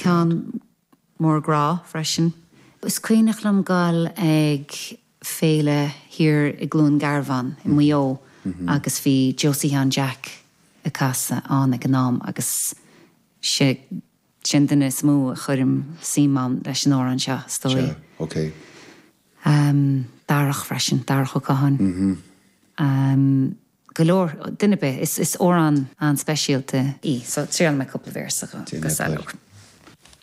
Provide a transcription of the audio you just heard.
Ceann mór grá freisin. Is cuimhneach liom dul ag féile thiar i gCluain Garbhán i Maigh Eo agus bhí Josie Sheáin Jeaic ag casadh ann ag an am agus sé an duine is mó a chuirim suim ann leis an amhrán seo, is dóigh. Sea, ok. Darach freisin, Darach Ó Catháin. Go leor, duine ar bith. Is amhrán an-speisialta í, so triailfidh mé cúpla véarsa go Déan é, Saileog.